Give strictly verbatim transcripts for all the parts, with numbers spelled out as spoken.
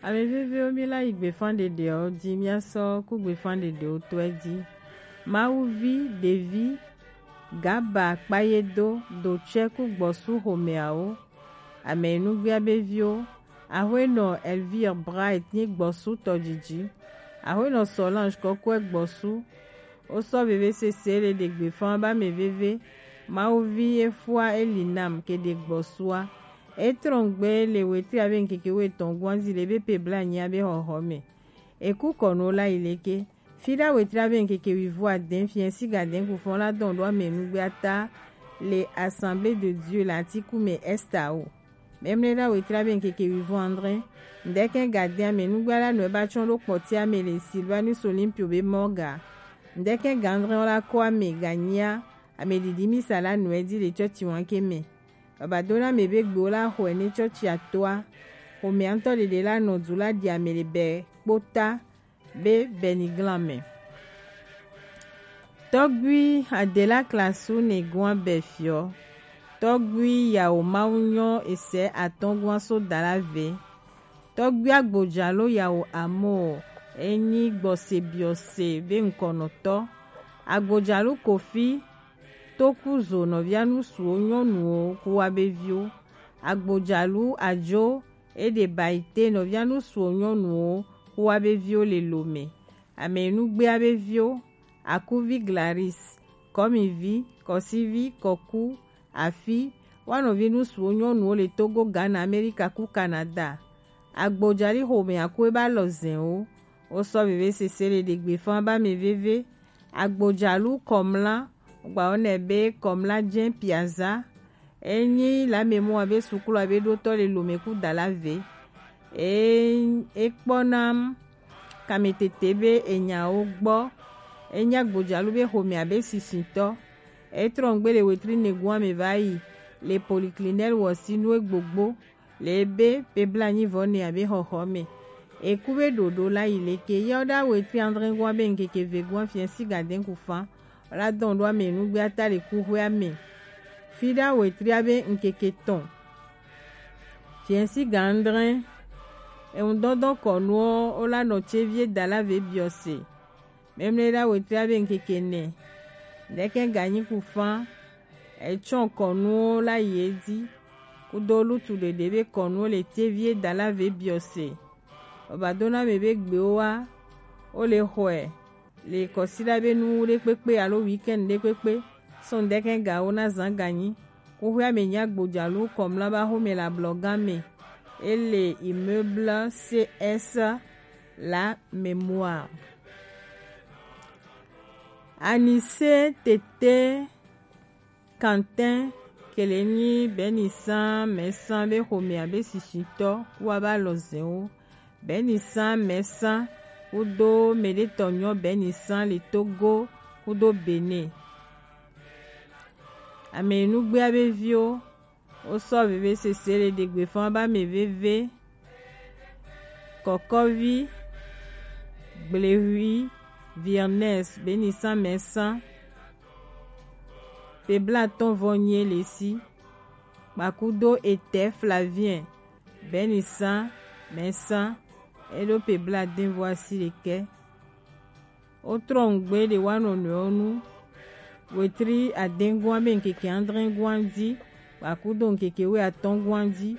Ame vevewo, mi la yi gbefan ɖeɖewo ji, mia sɔ ku gbefan ɖeɖewo tɔe ji. Mawuvi, ɖevi, gaba, kpayedo, dotsɛ ku gbɔsu xomeawo. Ame nugbea be viwo, Axwenɔ Elvire Bright nyi gbɔsu tɔjiji. Axwenɔ Solange Kɔkɔe gbɔsu. Wo sɔ veve sese le ɖe gbefan ba ame veve. Mawuvi efua eli nam ke ɖe gbɔsua. Etrɔngbe le wetri abe ŋkeke wetɔn guanzi le be pe bla nyia be xɔxɔ me. Eku kɔnu la yi leke. Fida wetri abe ŋkeke wivo adɛn fiɛ si gadɛn kufɔn la dɔn ɖo ame nugbe ata le Assemblée de Dieu le Atiku me Esta o. Mɛmlɛɖa wetri abe ŋkeke wivo andre. Ŋdɛkɛ gadɛn ame nugbe la nɔ eba tsɔn ɖo kpɔti ame le Sylvanus Olympio be mɔga. Ŋdɛkɛ gandrɛ la kɔ ame ganyia ame ɖiɖi misa la nɔ edi le tsɔtsi wanke me. Baba dona me be gbewo la xɔe ne tsɔtsi atoa. Xomea ŋutɔ ɖeɖe la nɔ du la ɖi ame le bɛ kpota be bɛniglan me. Tɔgui Adela Klasu ne gua bɛ fiɔ. Tɔgui yawo mawu nyɔ esɛ atɔngua so dala ve. Tɔgui agbojalo yawo amo enyi gbɔse biɔse be ŋkɔnɔtɔ. Agbojalo Kofi Tokuzo nɔvia nusuwo nyɔnuwo kuwa be viwo. Agbojalu ajo eɖe baite nɔvia nusuwo nyɔnuwo kuwa be viwo le lome. Ame nugbea be viwo, akuvi Glaris, kɔmivi, kɔsivi, kɔku, afi, wa nɔvi nusuwo nyɔnuwo le Togo, Ghana, Amerika ku Canada. Agbojali xome aku eba lɔ zɛnwo. Wo sɔ veve sese le ɖegbe fan ba me veve. Agbojalu kɔmla, gba wo nɛ be kɔmla jɛn piaza. Enyi lamɛmɔ abe sukulu abe ɖotɔ le lome ku dala ve. E ekpɔna kametete be enyawo gbɔ. Enyi agbojalu be xome abe sisitɔ. Etrɔ ŋgbe le wetri negun ame va yi le poliklinɛl wɔsinu egbogbo. Le ebe pe blanyi vɔ ne abe xɔxɔ me. Eku be ɖoɖo la yi leke yɔ ɖa wetri andre gua be ŋkeke ve gua fiɛ si gadɛn ku fan. La dɔn ɖo ame nugbe ata le kuxwe ame. Fi ɖa wetri abe ŋkeke tɔn. Fiɛ si ga andre. Eŋu dɔdɔ kɔnuɔ o la nɔ tse vie dala ve biɔ se. Mɛmlɛ ɖa wetri abe ŋkeke nɛ. Ɖɛkɛ ganyi ku fan. Etsɔ kɔnuwo la yi edzi. Kudo lutu ɖeɖe be kɔnuwo le tevie dala ve biɔ se. Baba dona me be gbewo wa. Wo le xɔe. Le kɔsiɖa be nu ɖe kpekpe alo weekend ɖe kpekpe. Sɔn ɖɛkɛ gawo na zan ganyi. Kuxwea me nya gbodzalu kɔmla ba xome le ablɔga me. Ele immeuble C S la mémoire. Anise tete Quentin kele nyi Benisan mɛsan be xomea be sisitɔ kuwa ba lɔ zɛnwo. Benisan mɛsan kudo mɛɖetɔ nyɔ Benisan le Togo kudo Benin. Ame nugbea be viwo Wo sɔ veve sese le ɖegbe fan ba me veve. Kɔkɔvi, Gblehwi, Virnes, Benisan mɛsan, pe blatɔn vɔ nyie le si, kpakudo etɛ Flavien, Benisan mɛsan, eɖo pe bladen vɔ asi ɖekɛ. Wotrɔ ŋgbe ɖe wa nɔnɔewo nu. Wetri adɛngua be ŋkeke adrɛngua di, kpakudo ŋkeke we atɔngua di.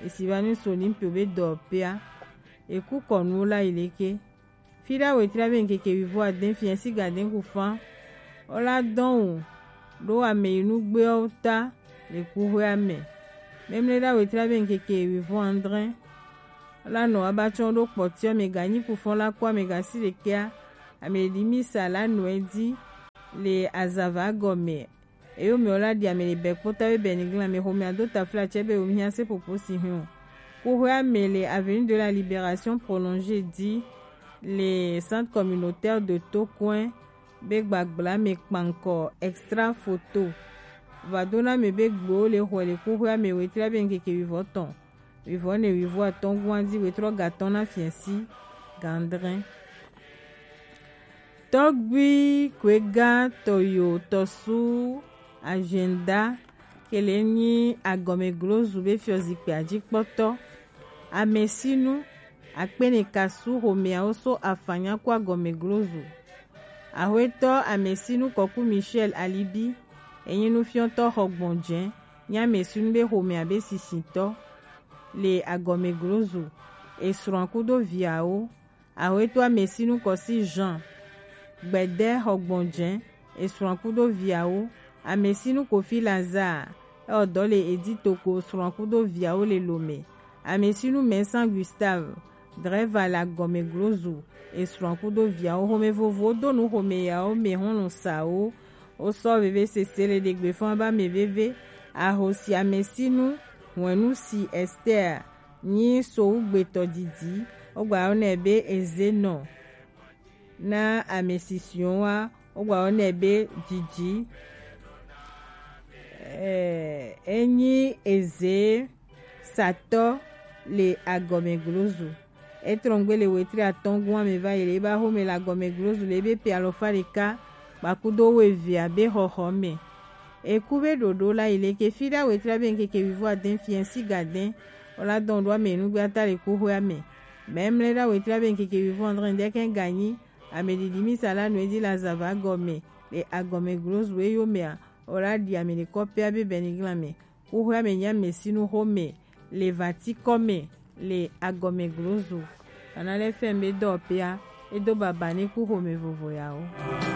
Esi va nu so ni mpio be dɔ pea. Eku kɔnuwo la yi leke. Fi ɖa wetri abe ŋkeke wivo adɛn fiɛ si gadɛn ku fan. Wola dɔn o ɖo ame yi nugbewo ta le kuxwea me. Mɛmlɛ ɖa wetri abe ŋkeke wivo adrɛn. La nɔ abatsɔn ɖo kpɔtiɔ me ganyi kufɔn la kɔ ame gasi ɖekɛa. Ame ɖi misa la nɔe di le azava gɔme. Eyo me la ɖi ame le bɛ kpota be bɛ ni glan me xome ado tafla tsɛ be wo mia se popo si hin o. Kuxwea me le avenue de la Libération prolongée di le centre communautaire de Tokoin be gbagbla me kpankɔ extra photo. Vadona me be gbewo le xɔe le kuxwea me wetri abe ŋkeke wivɔ tɔn. Wivɔ ne wivɔ atɔngua di wetrɔ gatɔn na fiɛ si gandrɛn. Tɔgbi Kwega Tɔyo Tɔsu Agenda kele nyi agɔmeglozu be fiɔ zikpui adzikpɔtɔ. Amesinu akpenekasu xomeawo so afanya ku agɔmeglozu. Axwetɔ Amesinu Kɔku Michel Alibi, enyi nufiɔtɔ xɔgbɔnjɛ, nyi Amesinu be xomea be sisitɔ le agɔmeglozu, esrɔ̃a kudo viawo. Axwetɔ Amesinu Kɔsi Jean Gbɛdɛ xɔgbɔnjɛ, esrɔ̃a kudo viawo. Amesinu Kofi Lazare, ewɔ dɔ le Editoko, srɔ̃a kudo viawo le Lome. Amesinu Mɛnsan Gustave, drɛva le agɔmeglozu, esrɔ̃a kudo viawo. Xome vovowo do nu xome yawo me hɔnlu sawo. Wosɔ veve sese le ɖegbe fɔn ba me veve. Ahosi Amesinu, hwenu si Esther nyi sowu gbetɔ didi, wogba yɔ nɛ be Ezenɔ. Na amesisiɔn wa, wogba yɔ nɛ be Didi. Eh, enyi eze satɔ le agɔmeglozu. Etrɔngbe le wetri atɔngua me va yi le eba xome le agɔmeglozu le ebe pe alɔfa ɖeka kpakudo wevea be xɔxɔ me. Eku be ɖoɖo la yi le ke fi ɖa wetri be ŋkeke wivo adɛn fiɛn si gadɛn. Wola dɔn ɖo ame nugbe ata le kuxoea me. Mɛmlɛ ɖa wetri be ŋkeke wivo adrɛn ɖe kɛ ganyi. Ame ɖiɖi mi sa la nu edi la zava gɔme le agɔmeglozu eyo mea, wola ɖi ame ɖekɔ pɛ abe bɛniglan me. Kuxoea me nya me sinu xome le vati kɔ me le agɔmeglozu. Kana lɛ fɛn be dɔ pɛa, edo baba ni ku xome vovo yawo.